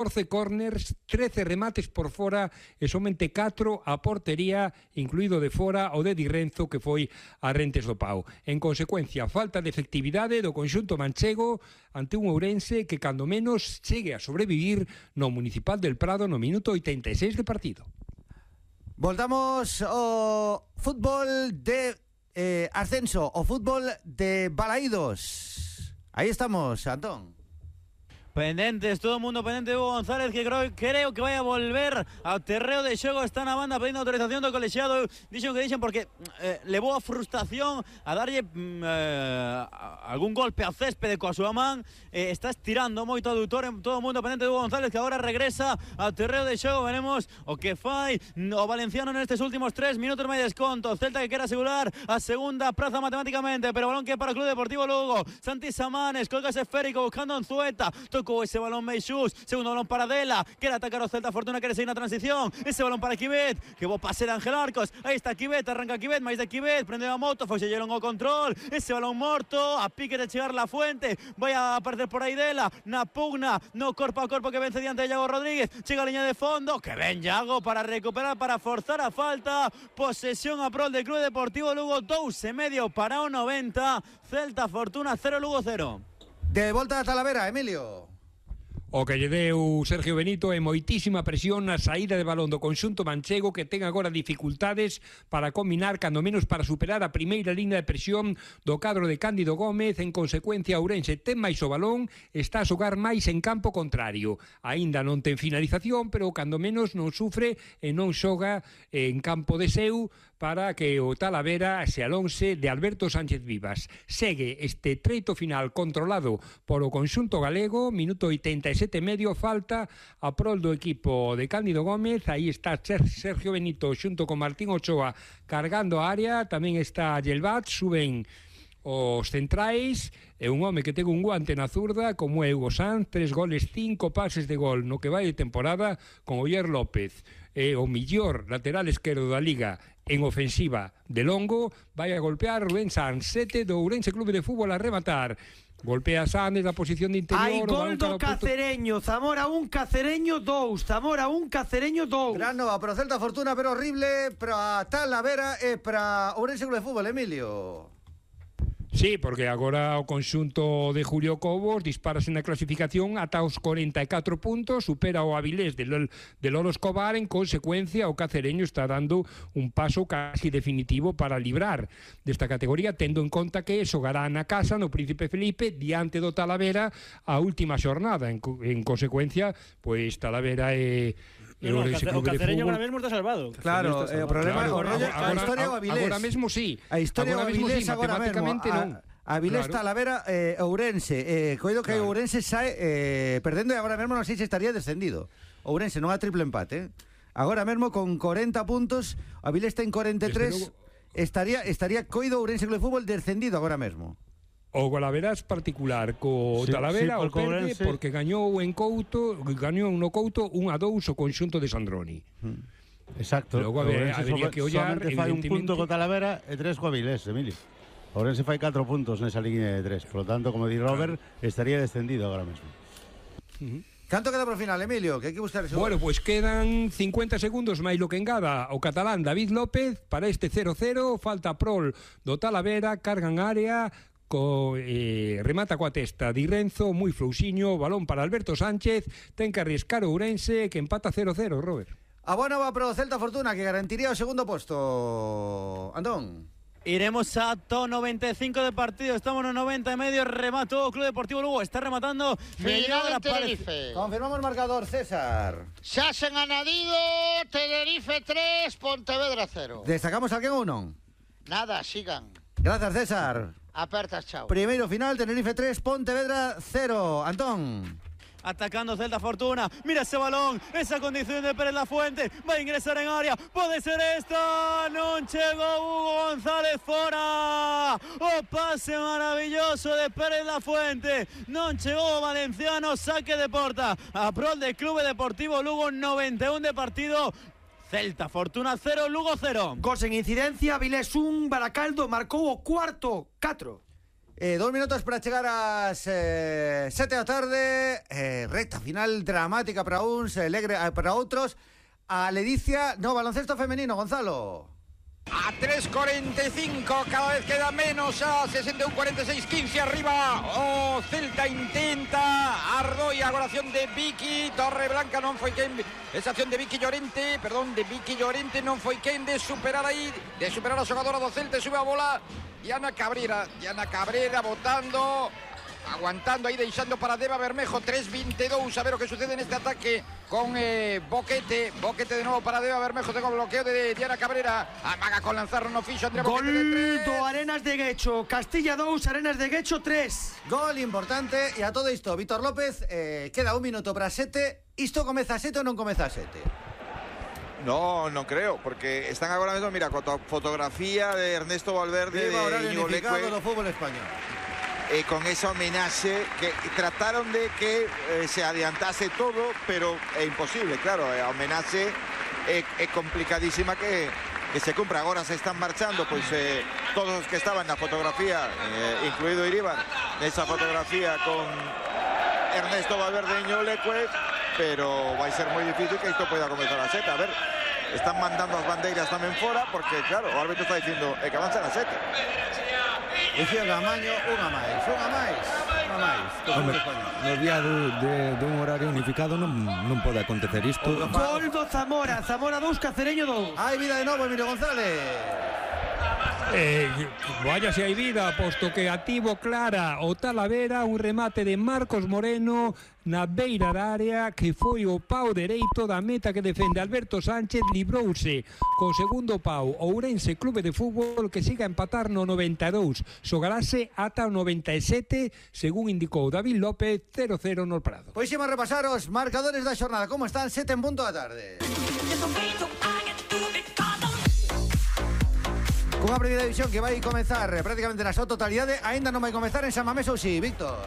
14 corners, 13 remates por fora e somente 4 a portería, incluído de fora o de Di Renzo, que foi a Rentes do Pau. En consecuencia, falta de efectividade do conxunto manchego ante un Ourense que cando menos chegue a sobrevivir no Municipal del Prado no minuto 86 de partido. Voltamos ao fútbol de ascenso, o fútbol de Balaídos. Aí estamos, Antón. Pendentes, todo o mundo pendente de Hugo González, que creo que vai a volver ao terreo de xogo. Está na banda pedindo autorización do colexiado. Dixen que dixen porque levou a frustración a darlle algún golpe ao céspede coa súa man. Está estirando moito o adutor. Todo o mundo pendente de Hugo González, que agora regresa ao terreo de xogo. Veremos o que fai o valenciano nestes últimos 3 minutos máis desconto. Celta que quere asegurar a segunda praza matemáticamente, pero balón que para o Club Deportivo Lugo. Santi Samanes, colga ese esférico buscando a Unzueta. Tocou ese balón Meixús, segundo balón para Dela, quere atacar o Celta Fortuna, quere seguir na transición, ese balón para Quivet, que bo pase de Ángel Arcos, aí está Quivet, arranca Quivet, máis de Quivet, prende a moto, foi lleron o control, ese balón morto, a pique de chegar La Fuente, vai a aparecer por aí Dela, na pugna, no corpo a corpo que vence diante de Iago Rodríguez, chega a liña de fondo, que ven Iago para recuperar, para forzar a falta, posesión a prol del Club Deportivo Lugo, 2,5 para o 90, Celta Fortuna 0, Lugo 0. De volta a Talavera, Emilio. O que lle deu Sergio Benito é moitísima presión na saída de balón do conxunto manchego, que ten agora dificultades para combinar, cando menos para superar a primeira línea de presión do cadro de Cándido Gómez. En consecuencia, Ourense ten máis o balón, está a xogar máis en campo contrario. Aínda non ten finalización, pero cando menos non sufre e non xoga en campo de seu para que o Talavera se alonse de Alberto Sánchez Vivas. Segue este treito final controlado por o conxunto galego, minuto 87 e medio, falta a prol do equipo de Cándido Gómez. Aí está Sergio Benito xunto con Martín Ochoa cargando a área, tamén está Yelvat, suben os centrais, e un home que ten un guante na zurda como é Hugo Sanz, 3 goles, 5 pases de gol no que vai de temporada con Oyer López, o millor lateral esquerdo da Liga en ofensiva de longo. Vai a golpear Rubén Sanz, 7 do Ourense Clube de Fútbol a rematar. Golpea Sanz da posición de interior. Hai gol do Cacereño, Zamora 1, Cacereño 2, Zamora 1, Cacereño 2. Gran nova para o Celta Fortuna, pero horrible para Talavera e para Ourense Clube de Fútbol, Emilio. Sí, porque agora o conxunto de Julio Cobos disparase na clasificación ata os 44 puntos, supera o Avilés de Lolo Escobar. En consecuencia, o Cacereño está dando un paso casi definitivo para librar desta categoría, tendo en conta que xogará na casa no Príncipe Felipe diante do Talavera a última xornada. En consecuencia, pois Talavera é o Cacereño agora mesmo está salvado. Claro, o problema é a historia do Avilés. Agora mesmo sí. A historia do Avilés agora mesmo. Avilés, claro. Talavera, Ourense. Coido que Ourense sae perdendo e agora mesmo non sei se estaría descendido. Ourense non a triple empate. Agora mesmo con 40 puntos, Avilés ten 43. Estaría coido Ourense Clube de Fútbol descendido agora mesmo. O golaveras particular co Talavera o perde porque gañou en Couto, gañou no Couto 1-2 o conxunto de Sandroni. Exacto. Logo habría que ollar, fai un punto co Talavera e 3 co Avilés, Emilio. Ourense fai 4 puntos nesa línea de 3. Por lo tanto, como di Robert, estaría descendido agora mesmo. Canto queda por final, Emilio? Que hai que buscar eso. Bueno, pues quedan 50 segundos máis lo que engada o catalán David López para este 0-0. Falta prol do Talavera, cargan área, remata coa testa Di Renzo, moi flouxiño, balón para Alberto Sánchez, ten que arriscar o Ourense, que empata 0-0, Robert. A boa nova para o Celta Fortuna, que garantiría o segundo posto. Antón. Iremos ata 95 de partido, estamos no 90 e medio, remató o Club Deportivo Lugo, está rematando Final en Tenerife. Confirmamos o marcador, César. Xa sen anadido, Tenerife 3, Pontevedra 0. Destacamos alguén ou non? Nada, sigan. Grazas, César. Apertas, chao. Primeiro final, Tenerife 3, Pontevedra 0. Antón. Atacando Celta Fortuna, mira ese balón, esa condición de Pérez La Fuente, va a ingresar en área, pode ser esta, non chegou Hugo González, fora, o pase maravilloso de Pérez La Fuente, non chegou o valenciano, saque de porta, a prol de Clube Deportivo Lugo, 91 de partido. Celta Fortuna 0, Lugo 0. Gol sen incidencia, Avilés 1, Baracaldo marcou o cuarto 4. 2 minutos para chegar ás 7 da tarde. Recta final dramática para uns, alegre para outros. A ledicia no baloncesto femenino, Gonzalo. A 3.45, cada vez queda menos, a 61-46, 15 arriba. O Celta intenta, Ardoy, agora acción de Vicky Torreblanca, non foi quen, esa acción de Vicky Llorente, perdón, de Vicky Llorente, non foi quen de superar aí, de superar a xogadora do Celta, sube a bola, Diana Cabrera botando, aguantando aí, deixando para Deva Bermejo, 3.22, a ver o que sucede neste ataque con Boquete de novo para Deva Bermejo, tengo bloqueo de Diana Cabrera, amaga con lanzar no fixo Andrea Boquete de 3. Gol do Arenas de Guecho, Castilla 2, Arenas de Guecho 3. Gol importante, e a todo isto, Víctor López, queda 1 minuto para 7, isto comeza a 7 ou non comeza a 7? No, non creo, porque están agora mesmo, mira, con fotografía de Ernesto Valverde, Viva de Íñigo Leque, do fútbol español. Con esa homenaxe que trataron de que se adiantase todo, pero é imposible, claro, a homenaxe é complicadísima que se cumpra. Agora se están marchando, pois todos os que estaban na fotografía, incluído Iribar, nesa fotografía con Ernesto Valverde e Íñigo Leque, pero vai ser moi difícil que isto poida comenzar a 7. A ver, están mandando as bandeiras tamén fora, porque claro, o árbitro está dicindo que avanzan a 7. Dicía Gamaño, unha máis. No día dun horario unificado non pode acontecer isto. Gol do Zamora 2, Cacereño 2. Hai vida de novo, Emilio González. Vaya se hai vida, posto que ativo clara o Talavera, un remate de Marcos Moreno na beira da área, que foi o pau dereito da meta que defende Alberto Sánchez, librouse co segundo pau Ourense Clube de Fútbol, que siga a empatar no 92, xogarase ata o 97, según indicou David López, 0-0 no Prado. Pois imos repasar os marcadores da xornada, como están, 7 en punto da tarde. Cunha primeira división que vai comezar prácticamente na súa totalidade, aínda non vai comezar en San Mamés ou si, Víctor?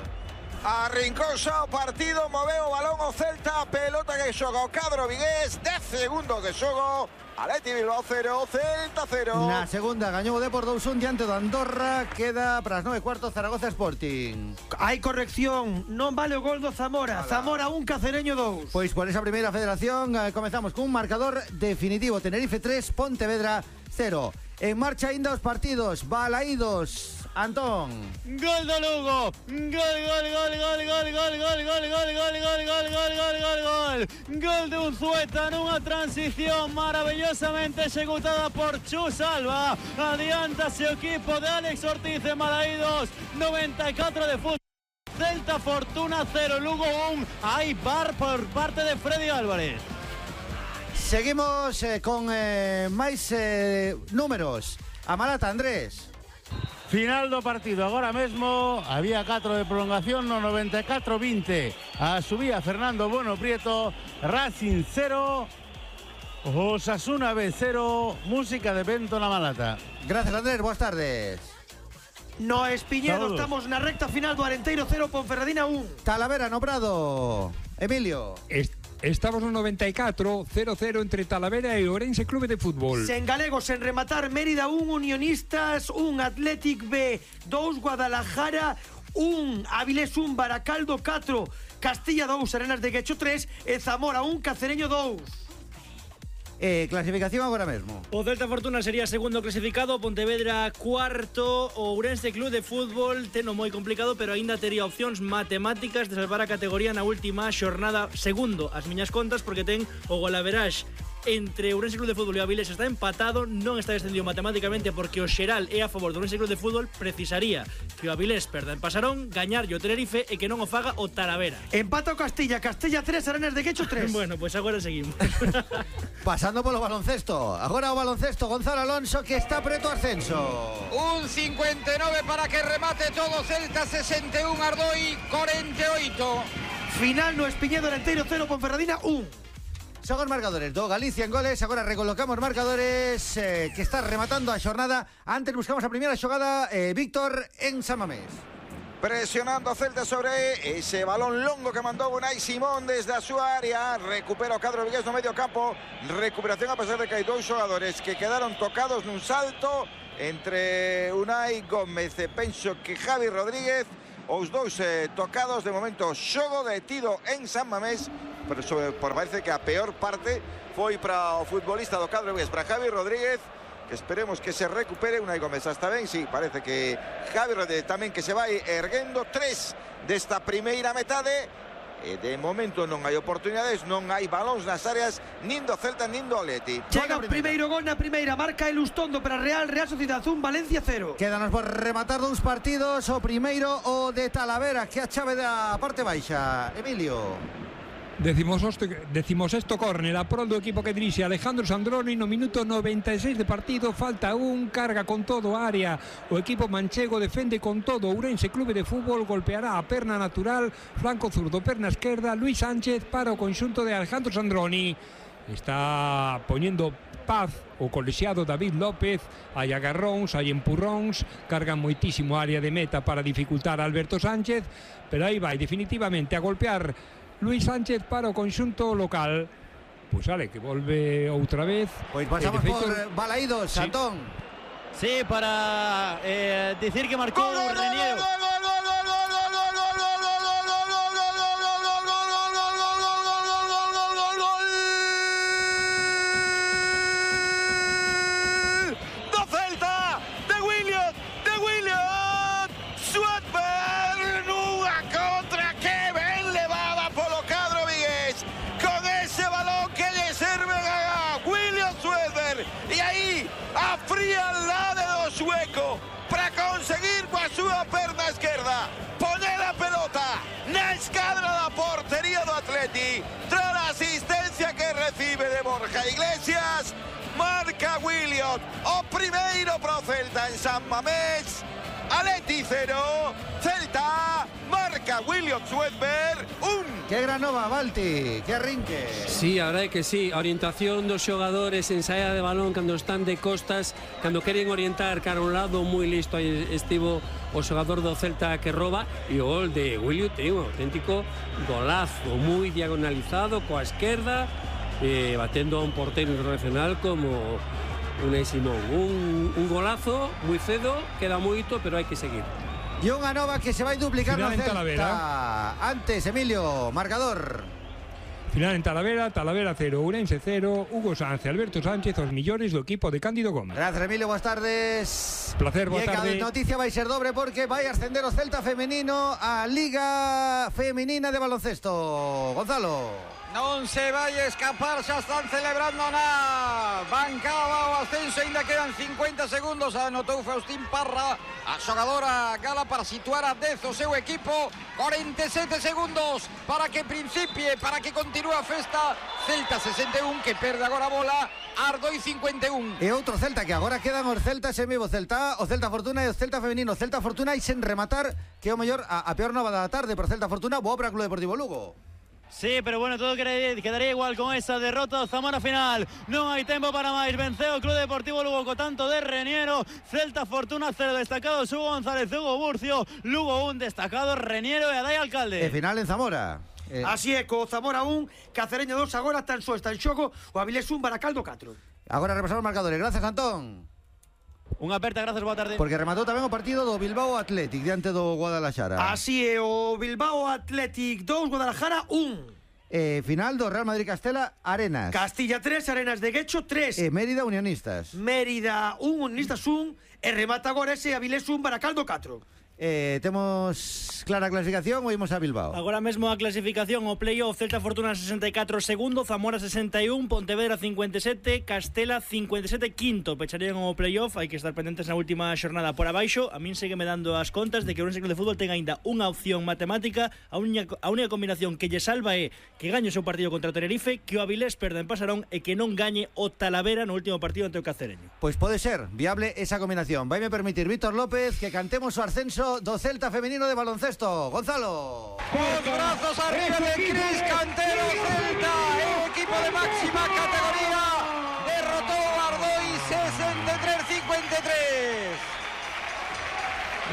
Arrincou xa o partido, moveu o balón o Celta, pelota que xoga o cadro vigués, 10 segundos de xogo, Atleti Bilbao 0, Celta 0. Na segunda gañou o Depor 2-1 diante do Andorra, queda para as 9:15 Zaragoza Sporting. Hai corrección, non vale o gol do Zamora. Zamora 1, Cacereño 2. Pois por esa primeira federación comezamos cun marcador definitivo, Tenerife 3, Pontevedra 0. En marcha ainda os partidos, balaídos, Antón. Gol do Lugo. Gol de Unzueta nunha transición maravillosamente executada por Chus Alba. Adiántase o equipo de Alex Ortiz en Balaídos, 94 de fútbol. Celta Fortuna 0, Lugo 1. Hay bar por parte de Freddy Álvarez. Seguimos con máis números. A Malata, Andrés. Final do partido, agora mesmo había 4 de prolongación no 94-20. A subía Fernando Bueno Prieto, Racing 0, Osasuna B 0, música de Bento na Malata. Gracias, Andrés, boas tardes. No Espiñedo, estamos na recta final do Arenteiro 0, Ponferradina 1. Talavera no Prado, Emilio. Estamos no 94, 0-0 entre Talavera e Ourense Clube de Fútbol. Sen galegos, sen rematar, Mérida 1, Unionistas 1, Athletic B 2, Guadalajara 1, Avilés 1, Baracaldo 4, Castilla 2, Arenas de Guecho 3 e Zamora 1, Cacereño 2. Clasificación agora mesmo. O Celta Fortuna sería segundo clasificado, Pontevedra cuarto, o Ourense Club de Fútbol teno moi complicado, pero aínda tería opcións matemáticas de salvar a categoría na última xornada, segundo as miñas contas, porque ten o golaveraxe entre Ourense Club de Fútbol e Avilés está empatado, non está descendido matemáticamente porque o xeral é a favor do Ourense Club de Fútbol, precisaría que o Avilés perda en Pasarón, gañar o Tenerife e que non o faga o Talavera. Empata o Castilla 3, Arenas de Guecho 3. Bueno, pois agora seguimos. Pasando polo baloncesto. Agora o baloncesto, Gonzalo Alonso, que está preto ascenso. Un 59 para que remate todo Celta, 61 Ardoy, 48. Final no Espiñedo, Arenteiro 0, Ponferradina 1. Son os marcadores do Galicia en goles. Agora recolocamos marcadores que está rematando a xornada. Antes buscamos a primeira xogada, Víctor, en San Mamés. Presionando a Celta sobre ese balón longo que mandou Unai Simón desde a súa área. Recupera o cadro vigués no medio campo. Recuperación a pesar de que hai dous xogadores que quedaron tocados nun salto. entre Unai Gómez e penso que Javi Rodríguez, os dous tocados. De momento xogo detido en San Mamés, pero parece que a peor parte foi para o futbolista do cadro vigués, para Javi Rodríguez, que esperemos que se recupere. Unai Gómez está ben, sí, parece que Javi Rodríguez tamén que se vai erguendo. 3 desta primeira metade. De momento non hai oportunidades, non hai balóns nas áreas nin do Celta nin do Atleti. Chega o primeiro gol na primeira, marca Elustondo para Real Sociedad 1, Valencia 0. Quédanos por rematar dous partidos. O primeiro, o de Talavera, que a chave da parte baixa. Emilio. Decimosexto córner a prol do equipo que dirixe Alejandro Sandroni no minuto 96 de partido. Falta un, carga con todo a área o equipo manchego, defende con todo. Ourense Clube de Fútbol golpeará a perna natural, flanco zurdo, perna esquerda. Luis Sánchez para o conxunto de Alejandro Sandroni. Está poñendo paz o colexiado David López. Hai agarróns, hai empurróns, cargan moitísimo a área de meta para dificultar a Alberto Sánchez, pero aí vai definitivamente a golpear Luis Sánchez para o conxunto local. Pois vale, que volve outra vez. Pois pasamos por Balaídos, sí. Antón. Sí, para decir que marcou Reniero. Para conseguir coa súa perna esquerda poner a pelota na escadra da portería do Atleti, tras a asistencia que recibe de Borja Iglesias. Marca Williot, o primeiro pro Celta en San Mamés. Atleti 0, Celta marca Williot Swedberg 1. Que gran nova, Balti, que arrinque. Sí, a verdade que sí, a orientación dos xogadores en saída de balón cando están de costas, cando queren orientar cara a un lado, moi listo aí estivo o xogador do Celta que roba, e o gol de Williot é un auténtico golazo, moi diagonalizado coa esquerda, batendo a un portero internacional como Unai Simón. Un golazo moi cedo, queda moito, pero hai que seguir. E unha nova que se vai duplicar no Celta. Talavera. Antes, Emilio, marcador. Final en Talavera 0, Ourense 0, Hugo Sánchez, Alberto Sánchez, os millores do equipo de Cándido Gómez. Gracias, Emilio, boas tardes. Placer, boa tarde. A noticia vai ser dobre porque vai ascender o Celta femenino a Liga Femenina de Baloncesto. Gonzalo. Non se vai escapar, xa están celebrando na bancada o ascenso, ainda quedan 50 segundos. Anotou Faustín Parra, a xogadora gala, para situar a 10 o seu equipo. 47 segundos para que principie, para que continúe a festa. Celta 61, que perde agora a bola. Ardoi 51. E outro Celta, que agora quedan os Celtas en vivo. Celta, o Celta Fortuna e o Celta Femenino. Celta Fortuna e sen rematar, que é o mellor a peor nova da tarde por Celta Fortuna. Boa para o Club Deportivo Lugo. Sí, pero bueno, todo quedaría igual con esa derrota. Zamora final, non hai tempo para máis. Venceu o Club Deportivo Lugo co tanto de Reniero. Celta Fortuna 0, destacado Hugo González, Hugo Burcio. Lugo 1, destacado Reniero e Adai Alcalde. E final en Zamora. Así é, co Zamora 1, Cacereño 2, agora está en xogo o Avilés 1, Baracaldo 4. Agora repasamos os marcadores. Gracias, Antón. Unha aperta, gracias, boa tarde. Porque rematou tamén o partido do Bilbao Athletic diante do Guadalajara. Así é, o Bilbao Athletic 2, Guadalajara 1. Final do Real Madrid Castela Arenas. Castilla 3, Arenas de Guecho 3. Mérida Unionistas. Mérida 1, Unionistas 1. E remata agora ese Avilés 1, Baracaldo 4. Temos clara clasificación ou imos a Bilbao? Agora mesmo a clasificación, o playoff: Celta Fortuna 64 segundo, Zamora 61, Pontevedra 57, Castela 57 quinto. Pecharían o playoff, hai que estar pendentes na última xornada por abaixo. A min segue me dando as contas de que o Ourense Club de Fútbol ten aínda unha opción matemática. A única combinación que lle salva é que gañe o seu partido contra o Tenerife, que o Avilés perda en Pasarón e que non gañe o Talavera no último partido ante o Cacereño. Pois pode ser viable esa combinación. Vaime permitir, Víctor López, que cantemos o ascenso do Celta femenino de baloncesto. Gonzalo. Os brazos arriba de Cris Cantero. Celta, el equipo de máxima categoría, derrotó a Ardoi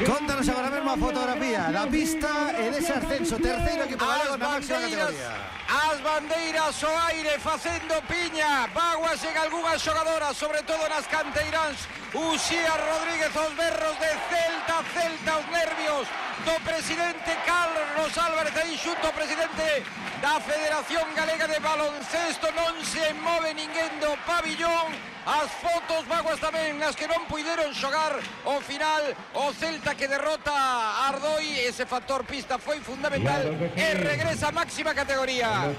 63-53. Contanos agora mesmo a fotografía da pista e dese ascenso. Terceiro equipo galego na máxima categoría. As bandeiras ao aire facendo piña. Vaguas en algunhas xogadoras, sobre todo nas canteiráns. Uxía Rodríguez, os berros de Celta, os nervios do presidente Carlos Álvarez, aí xunto ao presidente da Federación Galega de Baloncesto. Non se move ninguén do pabillón. As fotos vaguas tamén nas que non puideron xogar ao final o Celta, que derrota a Ardoi. Ese factor pista foi fundamental e regresa a máxima categoría.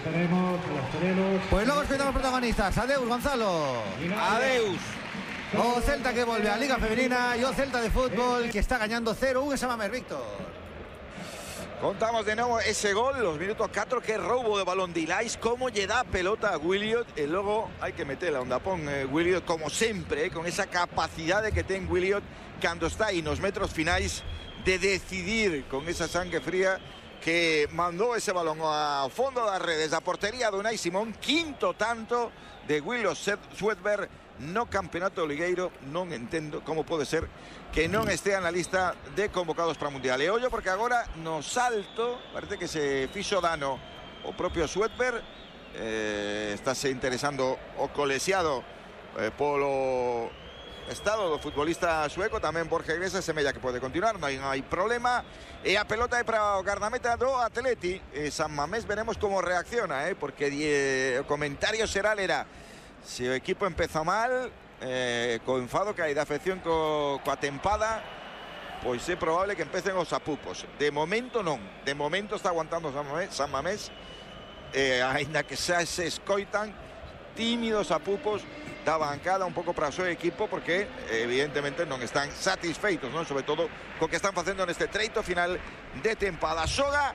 Pues logo escoitamos protagonistas. Adeus, Gonzalo. Adeus. O Celta que volve á Liga Femenina e o Celta de fútbol que está gañando 0-1 en Samamés, Víctor. Contamos de nuevo ese gol, los minutos 4, que robo de balón de Ilais, cómo lle dá pelota a Williot, e logo hai que meterla onde pon Williot, como sempre, con esa capacidade que ten Williot cando está aí nos metros finais de decidir con esa sangue fría, que mandou ese balón ao fondo das redes da portería de Unai Simón. Quinto tanto de Williot Swedberg no campeonato ligueiro. Non entendo como pode ser que non estea na lista de convocados para o Mundial. E ollo, porque agora no salto parece que se fixo dano o propio Swedberg. Estáse interesando o colexiado polo estado do futbolista sueco. Tamén Borja Iglesias semella que pode continuar, non hai problema. E a pelota é para o guardameta do Atleti. San Mamés veremos como reacciona, porque o comentario xeral era: se o equipo empeza mal, co enfado que hai da afección coa tempada, pois é probable que empecen os apupos. De momento non, de momento está aguantando San Mamés, aínda que xa se escoitan tímidos apupos da bancada un pouco para o seu equipo, porque evidentemente non están satisfeitos, non? Sobre todo co que están facendo neste treito final de tempada. Xoga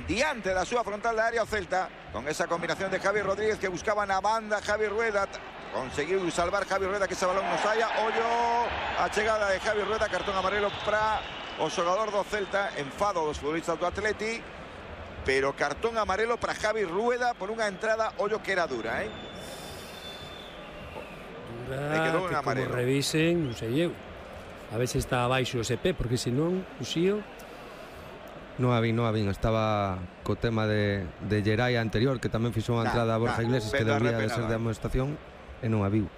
diante da súa frontal da área o Celta, con esa combinación de Javi Rodríguez, que buscaba na banda Javi Rueda. Conseguiu salvar Javi Rueda, que ese balón non saia. Ollo a chegada de Javi Rueda, cartón amarelo para o xogador do Celta. Enfado dos futbolistas do Atleti, pero cartón amarelo para Javi Rueda por unha entrada, ollo que era dura, que como revisen, non sei eu, a ver se está abaixo o SP, porque senón o Xío non a vin, estaba co tema de Geray anterior, que tamén fixou unha entrada a Borja Iglesias, que debía de ser de amonestación, e non a viu.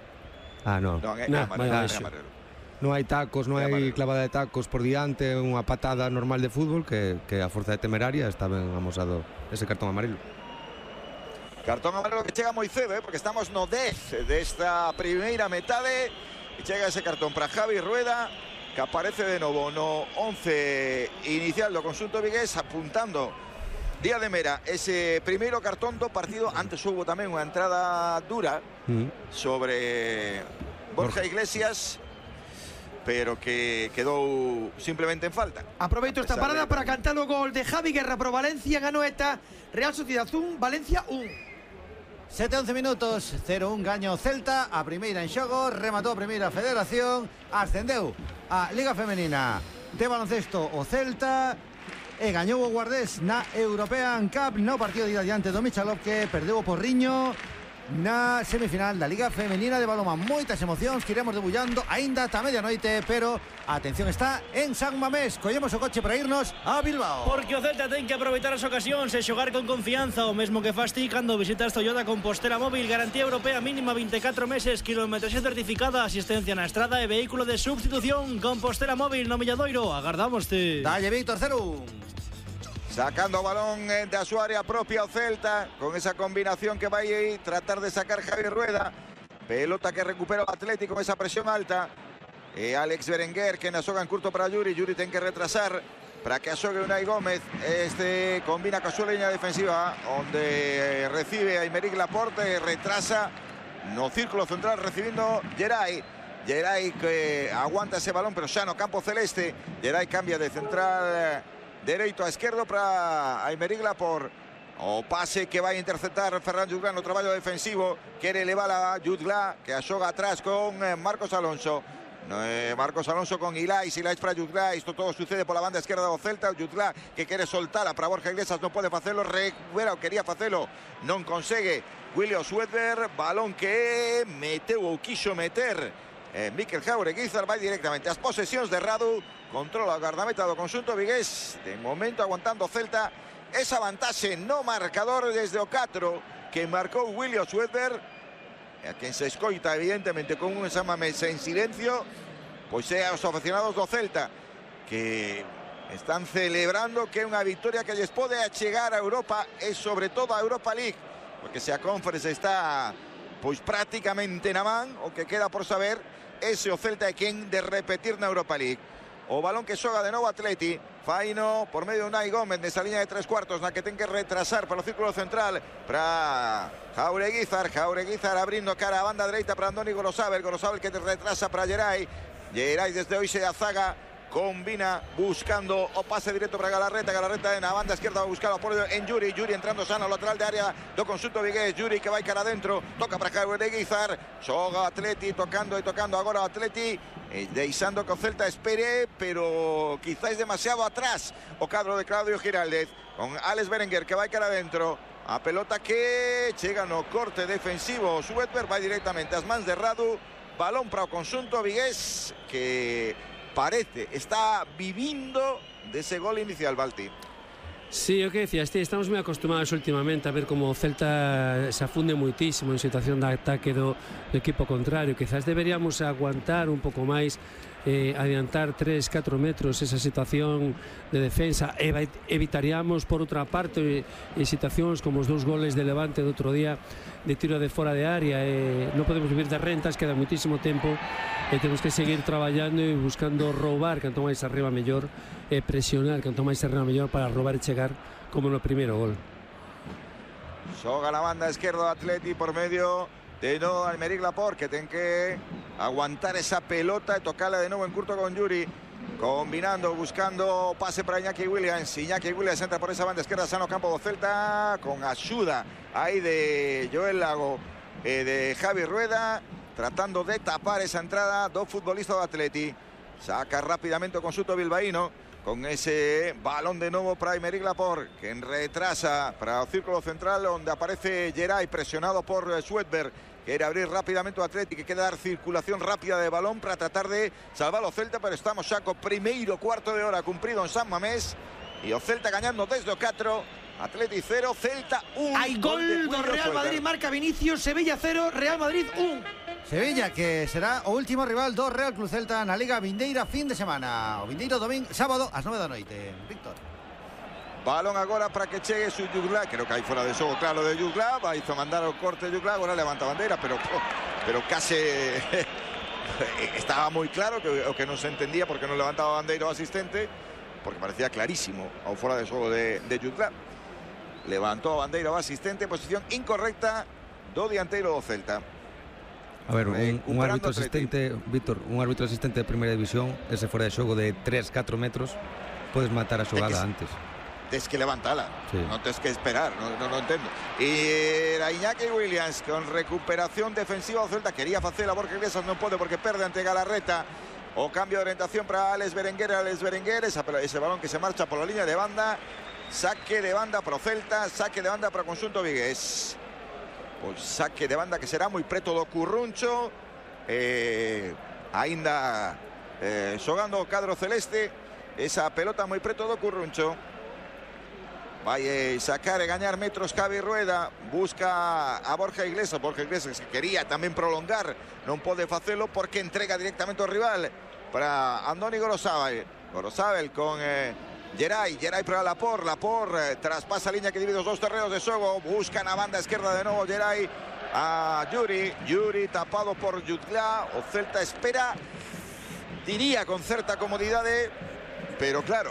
Non hai tacos, non hai clavada de tacos por diante, unha patada normal de fútbol, que a forza de temeraria está ben amosado ese cartón amarelo. Cartón amarelo que chega moi cedo, porque estamos no 10 desta primeira metade, e chega ese cartón para Javi Rueda, que aparece de novo no 11 inicial do conxunto vigués, apuntando Díaz de Mera ese primeiro cartón do partido. Antes houve tamén unha entrada dura sobre Borja Iglesias, pero que quedou simplemente en falta. Aproveito esta parada para cantar o gol de Javi Guerra pro Valencia en Anoeta. Real Sociedad 1, Valencia 1. 7-11 minutos, 0-1 gaño Celta. A primeira en xogo, rematou a primeira federación, ascendeu a Liga Femenina de baloncesto o Celta e gañou o Guardés na European Cup no partido de ida diante do Michalov, que perdeu o Porriño na semifinal da Liga Femenina de balonmán. Moitas emocións que iremos debullando aínda ata medianoite, pero a atención está en San Mamés. Collemos o coche para irnos a Bilbao, porque o Celta ten que aproveitar as ocasións e xogar con confianza, o mesmo que fas ti cando visitas Toyota Compostela Móvil. Garantía europea mínima 24 meses, kilometraxe certificada, asistencia na estrada e vehículo de substitución. Compostela Móvil no Milladoiro, agardámoste. Dalle Víctor, 0-1. Sacando o balón da súa área propia o Celta, con esa combinación que vai aí tratar de sacar Javi Rueda. Pelota que recupera o Atlético con esa presión alta. E Alex Berenguer, que na xoga en curto para Yuri. Yuri ten que retrasar para que xogue Unai Gómez. Este combina ca súa liña defensiva, onde recibe a Aymeric Laporte e retrasa no círculo central recibindo Geray. Geray que aguanta ese balón, pero xa no campo celeste. Geray cambia de central dereito a esquerdo para Aymeric Laporte. O pase que vai interceptar Ferran Jutgla no traballo defensivo. Quere elevar a Jutgla, que a xoga atrás con Marcos Alonso. Marcos Alonso con Ilais para Jutgla. Isto todo sucede pola banda esquerda do Celta. Jutgla que quere soltala para Borja Iglesias, non pode facelo. Recupera o quería facelo, non consegue William Swedberg. Balón que meteu ou quixo meter Mikel Jaureguizar vai directamente ás posesións de Radu, controla a gardameta do conxunto vigués, de momento aguantando Celta esa vantaxe no marcador desde o 4 que marcou William Swedberg, a quen se escoita evidentemente con un Samamés en silencio, pois é aos aficionados do Celta que están celebrando que é unha victoria que lles pode achegar a Europa e sobre todo a Europa League, porque se a Conference está pois prácticamente na man, o que queda por saber ese o Celta é quen de repetir na Europa League. O balón que xoga de novo Atleti, faino por medio de Unai Gómez nesa liña de 3/4 na que ten que retrasar para o círculo central para Jaureguizar abrindo cara a banda dereita para Andoni Gorosabel que retrasa para Geray desde hoxe a zaga combina buscando o pase directo para Galarreta na banda esquerda va a buscar o apoio en Yuri entrando sano ao lateral de área do conxunto vigués, Yuri que vai cara adentro, toca para Jaureguizar, xoga Atleti tocando agora o Atleti deixando que o Celta espere, pero quizás demasiado atrás o cadro de Claudio Giraldez con Alex Berenguer que vai cara adentro, a pelota que chega no corte defensivo, Swedberg vai directamente ás mans de Radu, balón para o conxunto vigués que parece está vivindo dese gol inicial, Balti. Sí, o que decías, estamos moi acostumados últimamente a ver como o Celta se afunde moitísimo en situación de ataque do equipo contrario. Quizás deberíamos aguantar un pouco máis, adiantar 3-4 metros esa situación de defensa, evitaríamos por outra parte situacións como os 2 goles de Levante do outro día de tiro de fora de área. Non podemos vivir de rentas, queda muitísimo tempo e temos que seguir traballando e buscando roubar canto máis arriba mellor e presionar canto máis arriba mellor para roubar e chegar como no primeiro gol. Xoga na banda esquerda Atleti por medio de novo Aymeric Laporte que ten que aguantar esa pelota e tocarla de novo en curto con Yuri, combinando, buscando pase para Iñaki Williams entra por esa banda esquerda sano campo do Celta con axuda aí de Joel Lago e de Javi Rueda tratando de tapar esa entrada do futbolista do Atleti. Saca rápidamente o conxunto bilbaíno con ese balón de novo para Aymeric Laporte que retrasa para o círculo central onde aparece Geray presionado por Swedberg. Quere abrir rápidamente o Atleti que queda dar circulación rápida de balón para tratar de salvar o Celta, pero estamos xa co primeiro cuarto de hora cumprido en San Mamés e o Celta gañando desde o 4, Atleti 0, Celta 1. Hai gol do Real Madrid, marca Vinicius, Sevilla 0, Real Madrid 1. Sevilla que será o último rival do Real Club Celta na Liga vindeira fin de semana, o vindeiro domingo, sábado ás 9 da noite. Víctor. Balón agora para que chegue su Jugla, creo que hai fora de xogo claro de Jugla, vai a mandar o corte de Jugla, agora levanta a bandeira, pero case estaba moi claro que o que non se entendía porque non levantaba a bandeira o asistente, porque parecía clarísimo ao fora de xogo de Jugla. Levantou a bandeira o asistente, posición incorrecta do dianteiro do Celta. A ver, un árbitro asistente, Víctor, un árbitro asistente de primeira división, ese fora de xogo de 3-4 metros, podes matar a xogada antes. Tens que levantala, sí. Non tens que esperar, non entendo. E era Iñaki Williams con recuperación defensiva do Celta, quería facer a Borja Iglesias, non pode porque perde ante Galarreta. O cambio de orientación para Alex Berenguer, ese balón que se marcha por la línea de banda, saque de banda para o Celta, saque de banda para o conxunto vigués. Pois saque de banda que será moi preto do Curruncho, aínda xogando o cadro celeste, esa pelota moi preto do Curruncho. Vai sacar e gañar metros Javi Rueda, busca a Borja Iglesias que quería tamén prolongar, non pode facelo porque entrega directamente ao rival para Andoni Gorosabel con Geray para Laporte traspasa a liña que divide os 2 terreos de xogo, busca na banda esquerda de novo Geray a Yuri tapado por Jutgla. O Celta espera, diría con certa comodidade, pero claro,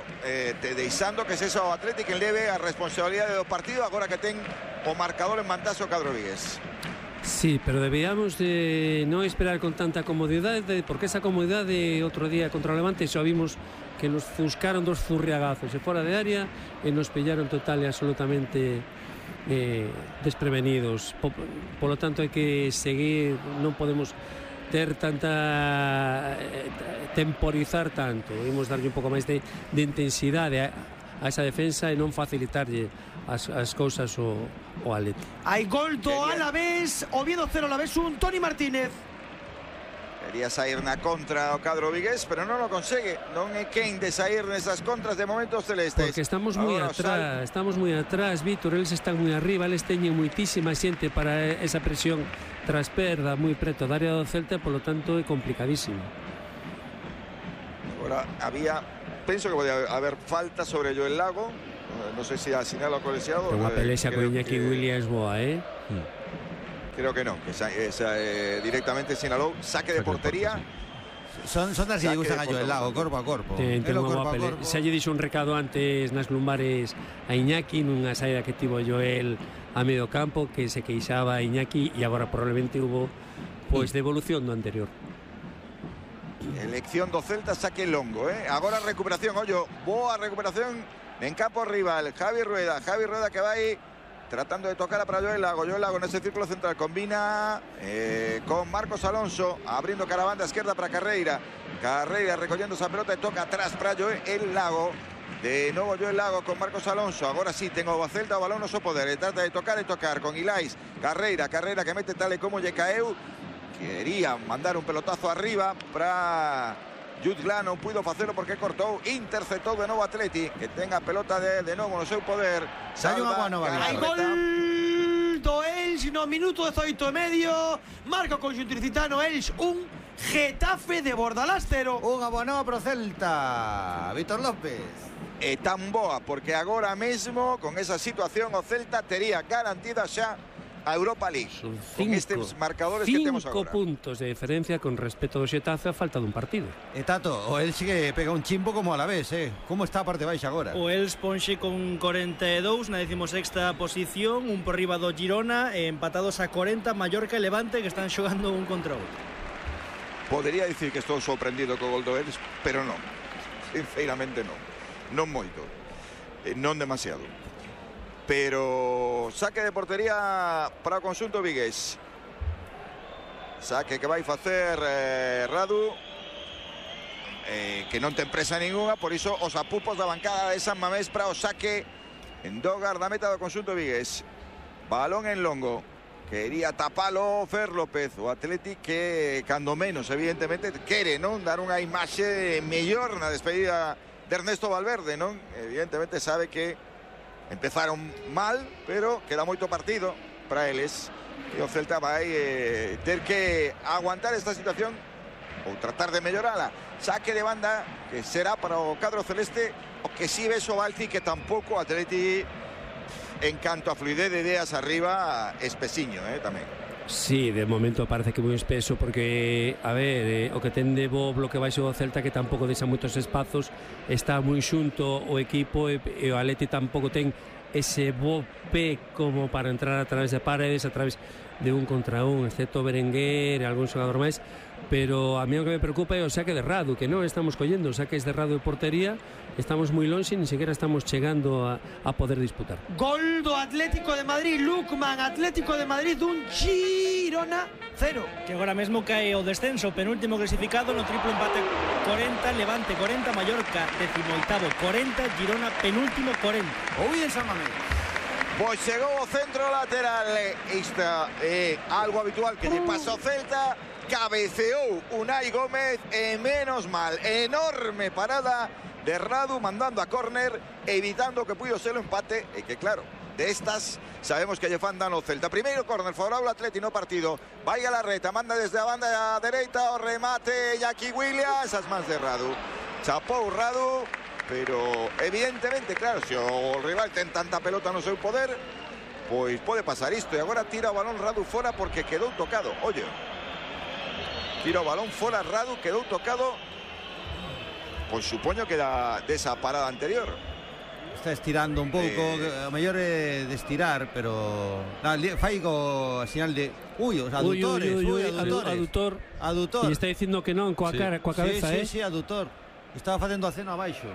deixando que sexa o Atlético que leve a responsabilidade do partido agora que ten o marcador en mantazo o cadro vigués. Sí, pero deberíamos de non esperar con tanta comodidade, porque esa comodidade outro día contra o Levante xa vimos que nos fuscaron 2 furriagazos e fora de área e nos pillaron total e absolutamente desprevenidos. Polo tanto hai que seguir, non podemos ter tanta temporizar tanto, debemos darlle un pouco máis de intensidade a esa defensa e non facilitarlle as cousas o Atleti. Hai gol do Alavés, Oviedo 0, Alavés 1, Toni Martínez. Quería sair na contra o cadro vigués, pero non o consegue. Non é quen de sair nesas contras de momentos celestes. Porque estamos moi atrás, Víctor, eles están moi arriba, eles teñen moitísima xente para esa presión tras perda moi preto da área do Celta, polo tanto é complicadísimo. Agora penso que pode haber falta sobre Joel Lago. Non sei se asinala o colexiado. Unha pelexa con Iñaki Williams boa, Creo que non, que directamente sinalou saque de portería. Son das que lle gustan a Joel Lago, corpo a corpo. Xa lle dixo un recado antes nas lumbares a Iñaki nunha saída que tivo Joel a medio campo, que se queixaba a Iñaki e agora probablemente hubo devolución do anterior. Elección do Celta, saque longo, Agora recuperación, boa recuperación en campo rival. Javi Rueda que vai tratando de tocar para Joel Lago en ese círculo central, combina con Marcos Alonso, abriendo cara a banda izquierda para Carreira recogiendo esa pelota y toca atrás para Joel Lago. De nuevo Joel Lago con Marcos Alonso. Ahora sí tengo a Celta o balón no so poder. Trata de tocar y tocar con Ilais. Carreira que mete tal y como lle caeu. Quería mandar un pelotazo arriba para Jutgla, non puido facelo porque cortou, interceptou de novo Atleti, que tenga pelota de novo no seu poder. Hai gol do Elx no minuto 18:30, marca o conxunto ilicitano. Elx 1, Getafe de Bordalás 0. Unha boa nova pro Celta, Víctor López. É tan boa porque agora mesmo con esa situación o Celta tería garantida xa a Europa League. Son con estes marcadores que temos agora. 5 puntos de diferencia con respecto ao Xetafe a falta dun partido. Tato, o Elx que pega un chimbo como a la vez, Como está a parte baixa agora? O Elx ponxe con 42 na 16ª posición, un por riba do Girona, empatados a 40 Mallorca e Levante, que están xogando un contra outro. Podería dicir que estou sorprendido co gol do Elx, pero non. Sinceramente non. Non moito. Non demasiado. Pero saque de portería para o conxunto vigués. Saque que vai facer Radu, que non ten presa ninguna, por iso os apupos da bancada de San Mamés para o saque en Dogar da meta do conxunto vigués. Balón en longo, quería tapalo Fer López, o Atleti que cando menos evidentemente quere non dar unha imaxe mellor na despedida de Ernesto Valverde, non? Evidentemente sabe que empezaron mal, pero queda moito partido para eles e o Celta vai ter que aguantar esta situación ou tratar de mellorala. Saque de banda que será para o cadro celeste, o que si ves o Balci que tampouco Atleti en canto a fluidez de ideas arriba espesiño, tamén. Sí, de momento parece que moi espeso porque, a ver, o que ten de bo bloque baixo do Celta que tampouco deixa moitos espazos, está moi xunto o equipo e o Atleti tampouco ten ese bo pé como para entrar a través de paredes, a través de un contra un, excepto Berenguer e algún xogador máis, pero a mí o que me preocupa é o saque de Radu, que non estamos collendo saques de Radu de portería, estamos moi lonxe, ni sequera estamos chegando a poder disputar. Gol do Atlético de Madrid, Lukman, Atlético de Madrid, un Girona 0. Que agora mesmo cae o descenso, penúltimo clasificado no triplo empate 40, Levante 40, Mallorca 18º 40, Girona penúltimo 40. Ouí en San Mamés. Pois chegou o centro lateral, isto é algo habitual que lle pasa ao Celta, cabeceou Unai Gómez e menos mal, enorme parada de Radu mandando a córner, evitando que puido ser o empate e que claro, de estas sabemos que lle fan dano o Celta. Primeiro córner favorable ao Atleti no partido, vai a la reta, manda desde a banda dereita o remate Iñaki Williams, as mans de Radu, chapou Radu. Pero evidentemente, claro, se o rival ten tanta pelota no seu poder, pois pode pasar isto. E agora tira o balón Radu fora porque quedou tocado. Oye, tira o balón fora Radu, quedou tocado. Pois supoño que desa parada anterior. Está estirando un pouco, o mellor é de estirar, pero fai co señal de os adutores, adutor. E está dicindo que non coa cara, coa cabeza, Sí, adutor. Estaba facendo aceno abaixo.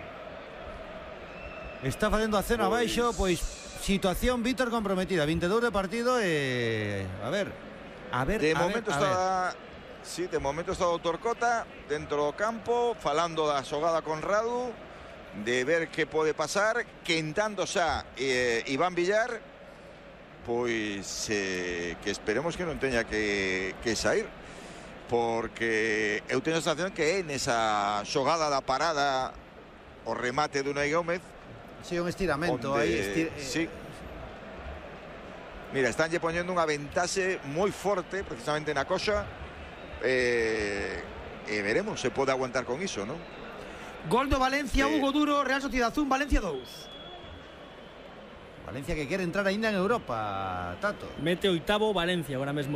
Está facendo aceno abaixo, pois situación Víctor comprometida, 22 de partido e a ver. De momento está de momento está o doutor Cota dentro do campo falando da xogada con Radu, de ver que pode pasar, quentando xa Iván Villar, pois que esperemos que non teña que sair. porque eu teño a sensación que é nesa xogada da parada o remate de Unai Gómez. Sí, un estiramento aí. Sí. Mira, estánlle poñendo unha ventaxe moi forte precisamente na coxa. Veremos se pode aguantar con iso, non? Gol do Valencia, Hugo Duro, Real Sociedad 1, Valencia 2. Valencia que quere entrar aínda en Europa, Tato. Mete oitavo Valencia ahora mesmo.